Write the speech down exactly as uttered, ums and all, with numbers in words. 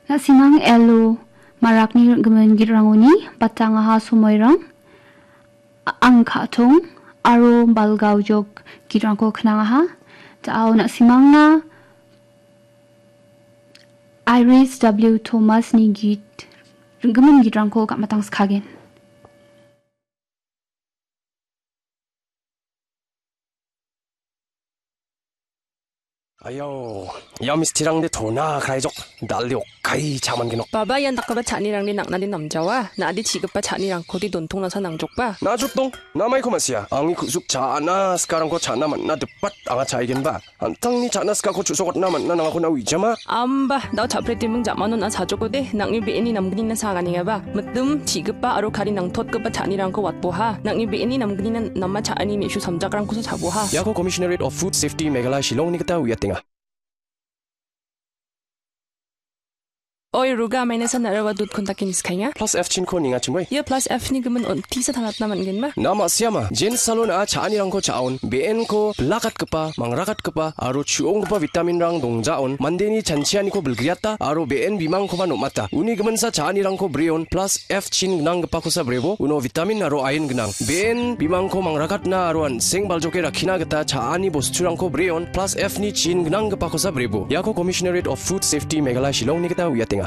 Na·simang Elo Marakni rim·gimin git·rangoni batangaha somoirang, a-, ang ka·tong aro balgaojok git·rangko knangaha. Da·ao na·simangna Iris W Thomasni git, rim·gimin git·rangko gamatang skagen. Ayo, ia mistirangde tona kraijok, dalde okkai cha·mangenok. Baba, ian dakgipa cha·anirangde nang·nade namjawa, na·ade chi·gipa cha·nirangkode dontongnasa nangjokba? Na·jotdong, namaiko ma·sia, angni ku·suk cha·ana sikarangko cha·na man·na dipat anga cha·aigenba. An·tangni cha·na sikako chu·sokatna man·na nangako na·o ijama? Amba, dao cha·pretiming ja·manon a·sajokode, nang·ni be·eni namgnina saganengaba. Mitim, chi·gipa aro kari nangtotgipa cha·anirangko watboha. Nang·ni be·eni namgnina nama cha·ani me·su samjakrangkosa chaboha. Iako Commissionerate of Food Safety Meghalaya Shillongni gita uiatenga. Oi, Ruga, maina san aro dud kontak ni skainga. Plus F chinko ninga chimoi. Ia plus F ni gimin on tisa tangatna man·genba? Na ma·siama, Jen Salon a cha·anirangko cha·on, be·enko bilakatgipa, mangrakatgipa, aro chu·onggipa vitaminrang dongjaon, mandeni chanchianiko bilgriata, aro be·en bimangkoba nom·ata. Uni giminsa cha·anirangko breon, plus F chin gnanggipakosa brebo, uno vitamin aro iron gnang. Be·en bimangko mangrakatna aro an·seng baljoke rakkina gita cha·ani bosturangko breon, plus F ni chin gnanggipakosa brebo. Iako Commissionerate of Food Safety Meghalaya Shillongni gita uiatenga.